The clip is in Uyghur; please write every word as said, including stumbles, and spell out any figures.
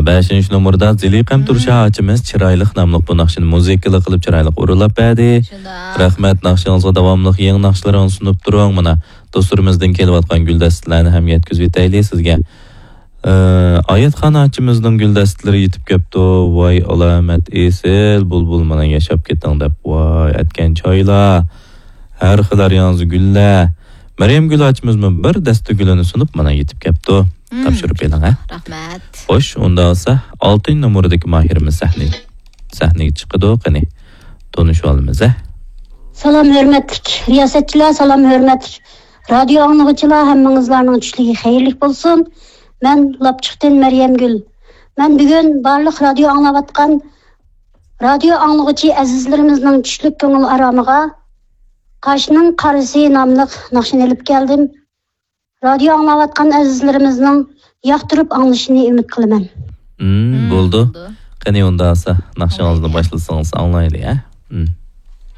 بەشىنچى نومۇردا زېلىقەم تۇرشا ئاچىمىز چىرايلىق ناملىق بۇ ناخشىنى مۇزىكىلا قىلىپ چىرايلىق ئورۇنلاپ بەردى. رەھمەت، ناخشىڭىزغا داۋاملىق يېڭى ناخشىلىرىڭىزنى سۇنۇپ تۇرۇڭ. مانا، دوستلىرىمىزدىن كېلىۋاتقان گۈلدەستىلەرنى ھەم يەتكۈزۈۋېتەيلى سىزگە. ئايەتخان ئاچىمىزنىڭ گۈلدەستىلىرى يېتىپ كەپتۇ. ۋاي ئالامەت ئېسىل، بۇلبۇل مانا ياشاپ كېتىڭ دەپ، ۋاي ئەتكەن چايلار، ھەر خىل ھەر ياڭزا گۈللەر. مەريەمگۈل ئاچىمىزمۇ بىر دەستە گۈلىنى سۇنۇپ مانا يېتىپ كەپتۇ. تاپشۇرۇپ بېرىڭ ھە. رەھمەت. خوش، ئۇندا بولسا ئالتىنچى نومۇردىكى ماھىرىمىز سەھنىگە سەھنىگە چىقىدۇ، قېنى تونۇشۇۋالىمىز ھە. سالام ھۆرمەتلىك رىياسەتچىلەر، سالام ھۆرمەتلىك رادىيو ئاڭلىغۇچىلار، ھەممىڭىزلارنىڭ چۈشلۈكى خەيرلىك بولسۇن. مەن لاپچۇقتىن مەريەمگۈل. مەن بۈگۈن بارلىق رادىيو ئاڭلاۋاتقان رادىيو ئاڭلىغۇچى ئەزىزلىرىمىزنىڭ چۈشلۈك كۆڭۈل ئارامىغا قاشنىڭ قارىسى ناملىق ناخشىنى ئېلىپ كەلدىم. رادىيو ئاڭلاۋاتقان ئەزىزلىرىمىزنىڭ ياقتۇرۇپ ئاڭلىشىنى ئۈمىد قىلىمەن. بولدى. قېنى ئۇندا بولسا ناخشىڭىزنى باشلىسىڭىز ئاڭلايلى ھە.